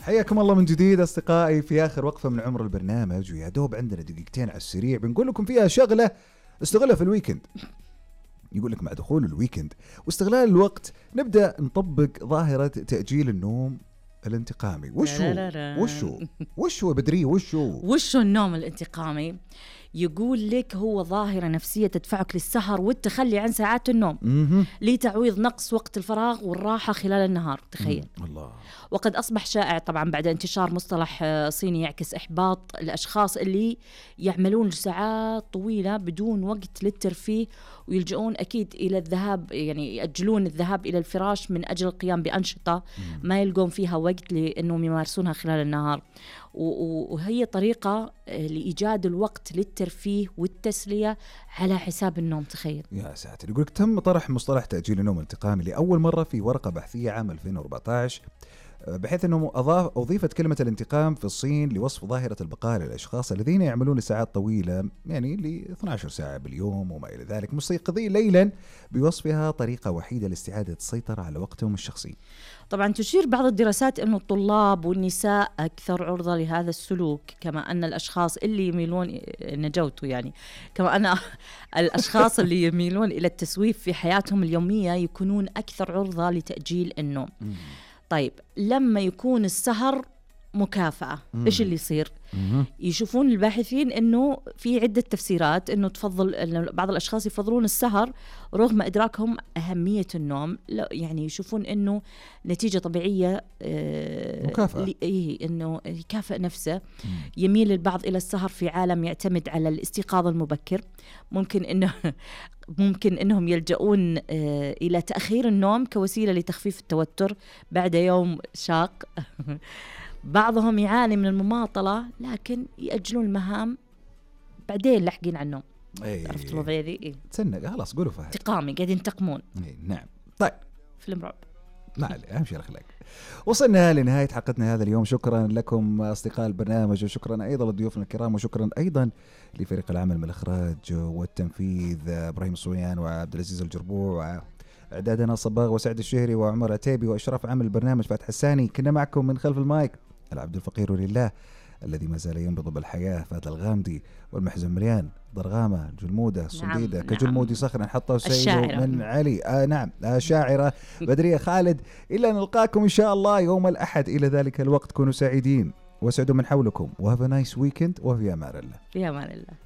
حياكم الله من جديد أصدقائي في آخر وقفة من عمر البرنامج، ويا دوب عندنا دقيقتين على السريع بنقول لكم فيها شغلة استغلها في الويكند. يقول لك مع دخول الويكند واستغلال الوقت نبدأ نطبق ظاهرة تأجيل النوم الانتقامي. وشو بدري وشو النوم الانتقامي؟ يقول لك هو ظاهرة نفسية تدفعك للسهر والتخلي عن ساعات النوم لتعويض نقص وقت الفراغ والراحة خلال النهار. تخيل. الله. وقد أصبح شائع طبعا بعد انتشار مصطلح صيني يعكس إحباط الأشخاص اللي يعملون ساعات طويلة بدون وقت للترفيه، ويلجؤون أكيد إلى الذهاب، يعني يأجلون الذهاب إلى الفراش من أجل القيام بأنشطة ما يلقون فيها وقت لأنهم يمارسونها خلال النهار. وهي طريقة لإيجاد الوقت للترفيه والتسلية على حساب النوم. تخيل يا ساتر. يقولك تم طرح مصطلح تأجيل النوم الانتقامي لأول مرة في ورقة بحثية عام 2014، بحيث أنه أضيفت كلمة الانتقام في الصين لوصف ظاهرة البقاء للأشخاص الذين يعملون لساعات طويلة، يعني ل 12 ساعة باليوم وما إلى ذلك، مستيقظين ليلا، بوصفها طريقة وحيدة لاستعادة السيطرة على وقتهم الشخصي. طبعا تشير بعض الدراسات أن الطلاب والنساء أكثر عرضة لهذا السلوك، كما أن الأشخاص اللي يميلون نجوتوا يعني كما أن الأشخاص اللي يميلون إلى التسويف في حياتهم اليومية يكونون أكثر عرضة لتأجيل النوم. طيب لما يكون السهر مكافأة إيش اللي يصير؟ يشوفون الباحثين إنه في عدة تفسيرات، إنه تفضل إنه بعض الأشخاص يفضلون السهر رغم إدراكهم أهمية النوم، يعني يشوفون إنه نتيجة طبيعية مكافأة، إنه يكافئ نفسه. يميل البعض إلى السهر في عالم يعتمد على الاستيقاظ المبكر. ممكن إنهم يلجؤون إلى تأخير النوم كوسيلة لتخفيف التوتر بعد يوم شاق. بعضهم يعاني من المماطلة لكن يأجلون المهام بعدين لاحقين على النوم. عرفت الوضعية ذي؟ تسنق خلاص قولوا فهد. انتقامي قاعدين ينتقمون. نعم. طيب فيلم رعب. ما عليه، أهم شيء الأخلاق. وصلنا لنهاية حلقتنا هذا اليوم. شكرا لكم أصدقاء البرنامج، وشكرا أيضا لضيوفنا الكرام، وشكرا أيضا لفريق العمل من الإخراج والتنفيذ إبراهيم الصويان وعبد العزيز الجربوع، وإعدادنا صباغ وسعد الشهري وعمر عتيبي، وإشراف عمل البرنامج فاتح الساني. كنا معكم من خلف المايك العبد الفقير لله الذي ما زال ينبض بالحياة، فهد الغامدي والمحزن مريان ضرغامة جلمودة صنديدة كجلمودي صخر نحطه سيده من علي. نعم شاعرة بدرية خالد. إلا نلقاكم إن شاء الله يوم الأحد. إلى ذلك الوقت كونوا سعيدين وسعدوا من حولكم، وهاف نايس ويكند، وفي أمان الله. في أمان الله.